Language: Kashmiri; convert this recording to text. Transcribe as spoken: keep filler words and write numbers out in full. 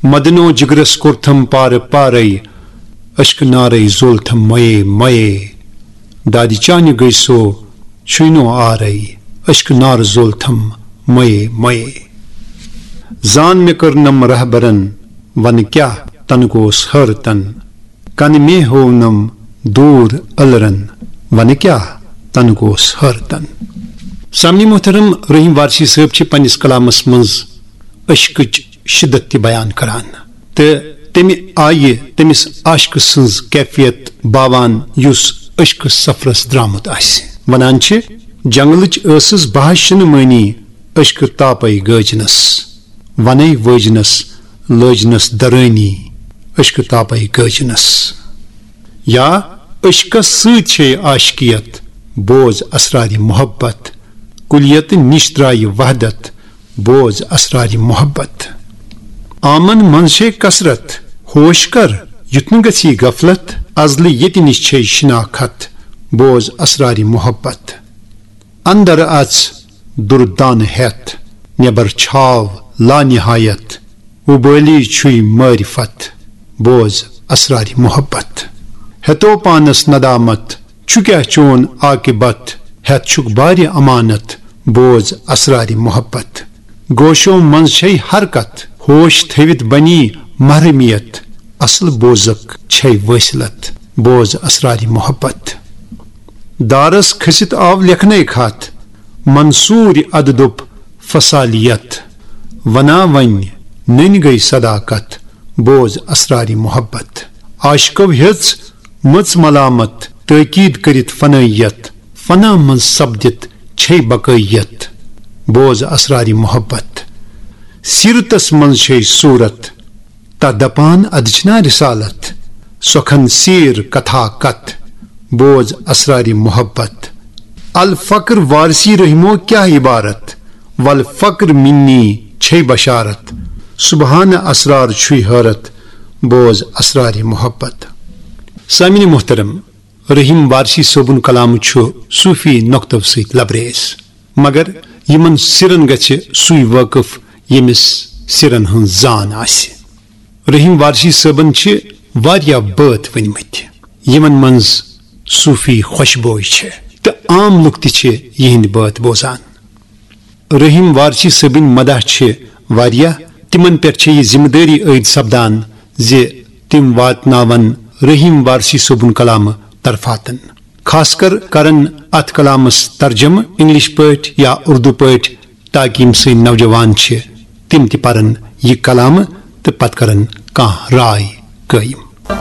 مدنو جگرس کوٚرتھم پارٕ پارے، اشکہٕ نارے زولتھم مئے مئے۔ دادِ چانہِ گٔے سو چھُے نو آرے، اشکہٕ نار زولتھم مئے مئے۔ زان مےٚ کٔرنم رہبرن، ونہٕ کیاہ تنہٕ گوس حٲرتن۔ کنہٕ مے ہوونم دوٗر ألرن، ونہٕ کیاہ تنہٕ گوس حٲرتن۔ سامعین محترم، رحیم وارثی صٲب چھِ پننِس کلامس منٛز عشقٕچ شدت تہِ بیان کران تہٕ تمہِ آیہِ تٔمِس عاشقہٕ سٕنٛز کیفیت باوان، یُس عشقہٕ سفرس درامُت آسہِ۔ ونان چھِ، جنگلٕچ ٲسٕس بہہ شِنہٕ مٲنی، عشقہٕ تاپے گٲجنس، ونے وٲجنس لٲجنس درٲنی، عشقہٕ تاپے گٲجنس۔ یا عشقس سۭتۍ چھے عاشقیت، بوز اسرارِ محبت۔ کلیت نِش درایہِ وحدت، بوز اسرارِ محبت۔ آمن منٛز چھے کثرت، ہوش کر، یُتھ نہٕ گژھی غفلت۔ ازلہِ ییٚتہِ نِش چھے شناخت، بوز اسرارِ محبت۔ اندر اژ دردانہٕ ہٮ۪تھ، نٮ۪بر چھاو لا نہایت۔ وُبٲلی چھُے معرفت، بوز اسرارِ محبت۔ ہیتو پانس ندامت، چھُ کیاہ چون عاقبت؟ ہیتھ چھُکھ بارِ امانت، بوز اسرارِ محبت۔ گوشو منٛز چھے حرکت، ہوش تھٲوِتھ بنی محرمیت۔ اصل بوزک چھے وٲصلت، بوز اسرارِ محبت۔ دارس کھٔسِتھ آو لیکھنے خط، منصوٗرِ ادٕ دوٚپ فصالیت۔ ونا وۄنۍ نٔنۍ گٔے صداقت، بوز اسرارِ محبت۔ عاشقو ہیٚژ مٔژ ملامت، تٲکید کٔرِتھ فنٲیت۔ فنا منٛز سپدِتھ چھے بقٲیت، بوز اسرارِ محبت۔ سیرتس منٛز چھے صوٗرت، تتھ دپان ادٕ چھنا رسالت۔ سۄکھن سیر کتھا کتھ، بوز اسرارِ محبت۔ الفقر وارثی رحمو کیاہ عبارت، والفقر منی چھے بشارت۔ سبحان اسرار چھُے حٲرت، بوز اسرارِ محبت۔ سامعین محترم، رحیم وارثی صٲبُن کلام چھُ صوفی نۄقطو سۭتۍ لبریز، مگر یِمن سِرن گژھِ سُے وٲقف، ییٚمِس سِرن ہٕنٛز زان آسہِ۔ رحیم وارثی صٲبن چھِ واریاہ بٲتھ ؤنمٕتۍ، یِمن منٛز صوفی خوشبوے چھِ، تہٕ عام لُکھ تہِ چھِ یِہنٛدۍ بٲتھ بوزان۔ رحیم وارثی صٲبٕنۍ مداح چھِ واریاہ، تِمن پٮ۪ٹھ چھِ یہِ ذمہٕ دٲری عٲید سپدان زِ تِم واتناون رحیم وارثی صٲبُن کلامہٕ طرفاتن۔ خاص کر کرن اتھ کلامس ترجمہٕ انگلش پٲٹھۍ یا اردو پٲٹھۍ، تاکہ یِم سٲنۍ نوجوان چھِ، تِم تہِ پرن یہِ کلامہٕ تہٕ پتہٕ کرن کانٛہہ راے قٲیِم۔